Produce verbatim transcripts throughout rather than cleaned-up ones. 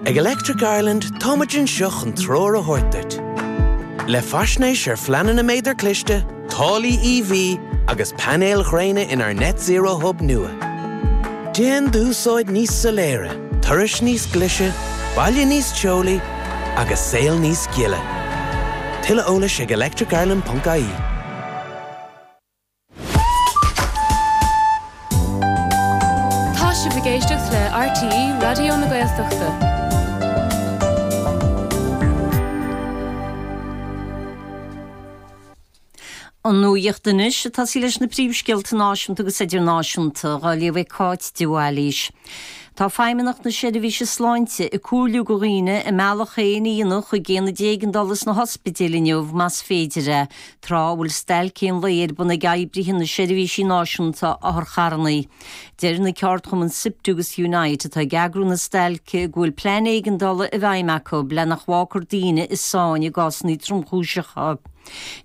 Ag Electric Ireland táimid anseo chun treoir a thabhairt duit. Le faisnéis ar phleananna méadar cliste, táillí EV agus painéil ghréine inár Net Zero Hub nua. Déan d'úsáid níos soiléire, turais níos glaise, baile níos teolaí agus saol níos gile. Tuilleadh eolais ag electricireland.ie. Tá sibh ag éisteacht le RTÉ Raidió na Gaeltachta. An nuacht anois ag tosaí leis na príomhscéalta náisiúnta agus idirnáisiúnta, á léamh ag Cáit de Bhailís. Tá Feidhmeannacht na Seirbhíse Sláinte ag comhairliú do dhaoine a mbealach féin a dhéanamh chuig aonaid éigeandála sna hospidéil inniu más féidir é, tráth a bhfuil stailc aon lae ar bun ag oibrithe na Seirbhísí Náisiúnta Otharcharranna. Deir na ceardchumainn Siptu agus Unite atá ag eagrú na stailce go bhfuil plean éigeandála i bhfeidhm acu le nach bhfágfar daoine i sáinn i gcásanna tromchúiseacha.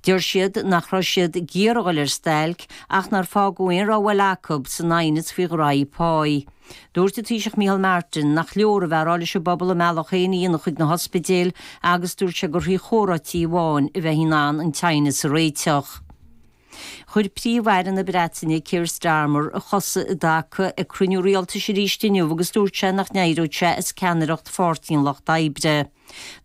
Deir siad nach raibh siad ag iarraidh a dhul ar stailc ach nár fágadh aon rogha eile acu san aighneas faoi ghraí páí. Dúirt an Taoiseach Micheál Martin nach leor a bheith ag rá leis an bpobal a mbealach féin a dhéanamh chuig na hospidéil agus dúirt sé gur thrí chomhráití amháin a bheifí in ann an t-aighneas a réiteach. Chuir Príomh-Aire na Breataine Keir Starmer a chosa i dtaca ag cruinniú rialtais arís inniu agus dúirt sé nach n-éireodh sé as ceannaireacht Pháirtí an Lucht Oibre.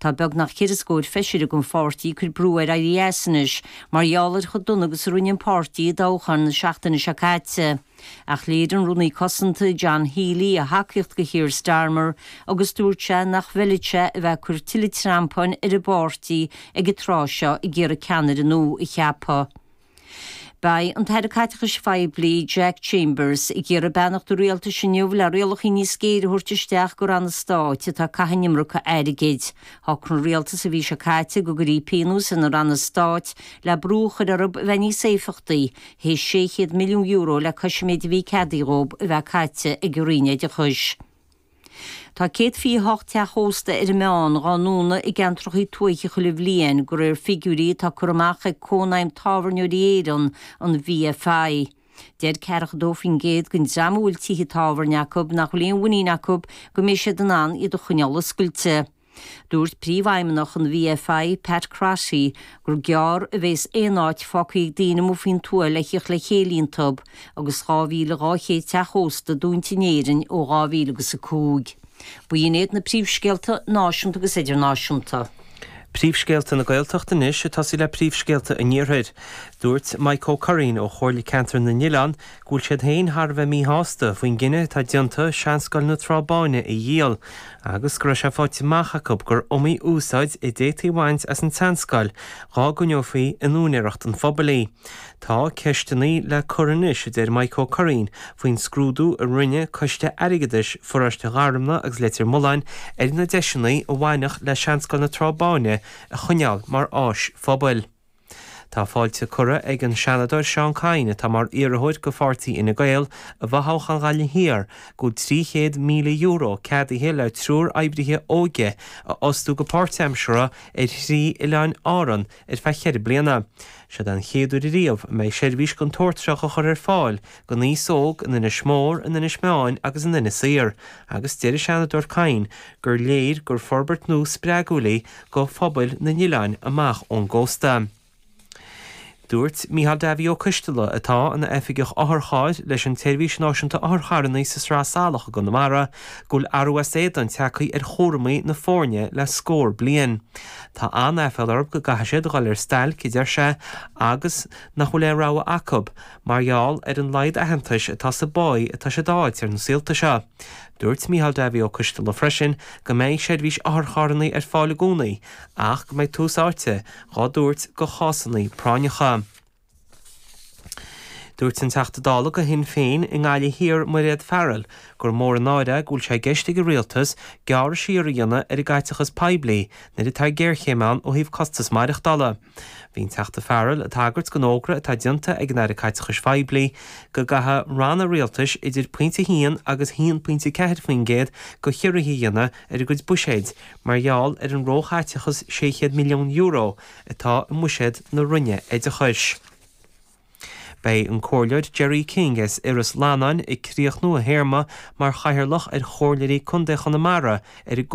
Tá beagnach ceithre scór feisire den pháirtí ag cur brú air éirí as anois mar gheall ar chomh dona agus a rinne an páirtí i dtoghchán na seachtaine seo caite. Ach léirigh an Rúnaí Cosanta John Healey a thacaíocht do Keir Starmer agus dúirt sé nach bhfeilfeadh sé a bheith ag cur tuilleadh treampáin ar an bpáirtí ag an tráth seo ag iarraidh ceannaire nua a cheapadh. Beidh an tAire Caiteachais Phoiblí, Jack Chambers, ag iarraidh beannacht an Rialtais inniu le rialacha níos géire a thabhairt isteach do ranna stáit atá ag caitheamh an iomarca airgid. Shocraigh an Rialtas an mhí seo caite go gcuirfí pionós ar na ranna stáit le brú a chur orthu a bheith níos éifeachtaí, théis sé chéad milliún euro le cois an méid a bhí ceadaithe dhóibh a bheith caite ag an Roinn Oideachais. Tá céad fiche a hocht teach ósta ar an meán dhá ndúnadh i gceantracha tuaithe chuile bhliain, de réir figiúirí atá curtha amach ag Cónaidhm Tábhairneoirí Éireann, an VFI. Deir ceathracha dó faoin gcéad den dream a bhfuil tithe tábhairne acu nach bhfuil aon mhuinín acu go mbeidh siad in ann iad a choinneáil oscailte. Dúirt Príomhfheidhmeannach an VFI, Pat Crotty, gur gearr a bheas aon áit fágtha ag daoine amuigh faoin tuath le theacht le chéile iontu, agus dhá mhíle dhá chéad teach ósta dúnta in Éirinn ó dhá mhíle agus a cúig. B'in iad na príomhscéalta náisiúnta agus idirnáisiúnta. Príomhscéalta na Gaeltachta anois, ag tosaí le príomhscéalta an Iarthair. Dúirt Mike Ó Curraoin ó Chomhairle Ceantair na nOileán go bhfuil siad féin thar a bheith míshásta faoin gcinneadh atá déanta Seanscoil na Trá Báine a dhíol agus go raibh sé faighte amach acu gur iomaí úsáid a d'fhéadfaí a bhaint as an tseanscoil dhá gcoinneofaí in úinéireacht an phobail í. Tá ceisteanna le cur anois, a deir Mike Ó Curraoin, faoin scrúdú a rinne Coiste Airgeadais Pharóiste Gharmna agus Leitir Mealláin ar na deiseanna a bhainfeadh le Seanscoil na Trá Báine a choinneáil mar áis phobail. Tá fáilte curtha ag an Seanadóir Seán Kyne, atá mar iarrthóir do pháirtí Fhine Gael i bhfothoghchán Ghaillimh Thiar, go bhfuil trí chéad míle euro ceadaithe le triúr oibrithe óige a fhostú go páirtaimseartha ar thrí oileáin Árann ar feadh cheithre bliana. Seod é an chéad uair ariamh a mbeidh seirbhís den tsórt seo á chur ar fáil don aos óg in Inis Mór, in Inis Meáin agus in Inis Oírr agus deir an Seanadóir Kyne gur léir gur forbairt nua spreagúil í do phobail na n-oileán amach ón gcósta. Dúirt Micheál Davy Ó Coisteala, atá ina oifigeach otharchairr leis an tSeirbhís Náisiúnta Otharcharranna sa Sraith Salach i gConamara, go bhfuil athrú as éadan tagtha ar chúramaí na foirne le scór bliain. Tá an-aiféala orthu go gcaithfidh siad a dhul ar stailc, a deir sé, agus nach bhfuil aon rogha acu mar gheall ar an laghad aitheantais atá sa bpáí atá siad a fháilt ar na saolta seo. Dúirt Micheál Davy Ó Coisteala freisin go mbeidh seirbhís otharcharranna ar fáil i gcónaí ach go mbeidh tús áite dhá dtabhairt do chásanna práinneacha. Dúirt an Teachta Dála do Shinn Féin i nGaillimh Thiar Mairéad Farrell gur mór an náire é go bhfuil sé i gceist ag an Rialtas gearradh siar a dhéanamh ar an gcaiteachas poiblí nuair atá géarchéim ann ó thaobh costas maireachtála. Bhí an Teachta Farrell ag tagairt don fhógra atá déanta ag an Aire Caiteachais Phoiblí go gcaithfidh ranna rialtais idir pointe a haon agus a haon pointe ceathair faoin gcéad de chiorruithe a dhéanamh ar a gcuid buiséid mar gheall ar an róchaiteachas sé chéad milliún euro atá i mbuiséad na Roinne Oideachais. Beidh an Comhairleoir Gerry King as Iorras Lannáin ag críochnú a théarma mar chathaoirleach ar Chomhairleoirí Contae Chonamara ar an